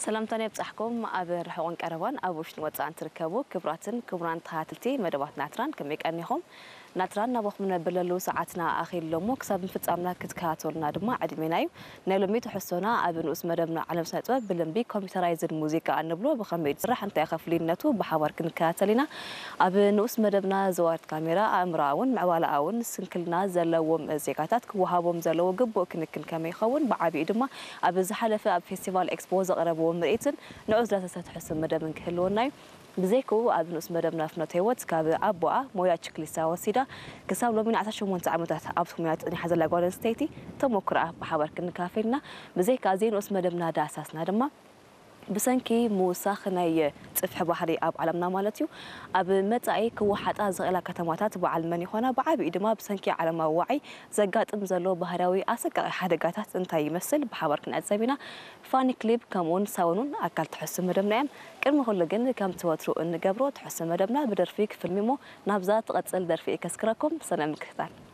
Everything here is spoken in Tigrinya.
ሰላምታና ይብጻሕኩም። ኣብ ርሑቕን ቀረባን፣ ኣብ ውሽጥን ወጻእን ትርከቡ ክቡራትን ክቡራን ተኸታተልቲ መደባት ናትራን፣ ከመይ ቀኒኹም? ናትራን ናባኹም ነብለሉ ሰዓትና ኣኺሉ እሞ፣ ክሳብ ምፍጻምና ክትከታተሉና ድማ ዕድሜና እዩ። ናይ ሎሚ ትሕዝቶና ኣብ ንኡስ መደብና ዓለም ስነ ጥበብ ብልምዲ ኮምፒውተራይዝድ ሙዚቃ እንብሎ ብኸመይ ዝስራሕ፣ እንታይ ከፍልይነቱ ብሓባር ክንከታተል ኢና። ኣብ ንኡስ መደብና ዘዋርት ካሜራ ኣእምሮኣውን ምዕባለኣውን ስንክልና ዘለዎም ዜጋታት ክወሃቦም ዘለዎ ግቡእ ክንክን ከመይ ይኸውን፣ ብዓቢኡ ድማ ኣብ ዝሓለፈ ኣብ ፌስቲቫል ኤክስፖ ዘቕረብዎ ምርኢትን ንዑ ዝዳሰሰ ትሕዝቶ መደብን ክህልወና እዩ። ብዘይክኡ ኣብ ንኡስ መደብና ፍኖተ ህይወት ካብ ኣቦኣ ሞያ ችክሊስታ ወሲዳ ክሳብ ሎሚ ንዓሰርተ ሸሞንተ ዓመታት ኣብቲ ሞያ ጸኒሓ ዘላ ጓል ኣንስተይቲ ተሞክሮኣ ብሓባር ክንካፈል ኢና። ብዘይካ እዚ ንኡስ መደብና ዳሳስና ድማ ብሰንኪ ምውሳኽ ናይ ጽፍሒ ባሕሪ ኣብ ዓለምና ማለት እዩ፣ ኣብ መጻኢ ክወሓጣ ዝኽእላ ከተማታት በዓል መን ይኾና? ብዓቢኡ ድማ ብሰንኪ ዓለማዊ ዋዒ ዘጋጥም ዘሎ ባህርያዊ ኣሰቃቒ ሓደጋታት እንታይ ይመስል? ብሓባር ክንዕዘብ ኢና። ፋኒ ክሊፕ ከምኡውን ሳውኑን ኣካል ትሕዝቶ መደብና እዮም። ቅድሚ ኩሉ ግን ከምቲ ወትሩ እንገብሮ ትሕዝቶ መደብና ብደርፊ ክፍልም እሞ ናብዛ ትቐጽል ደርፊ ከስክረኩም ሰናይ ምክትታል።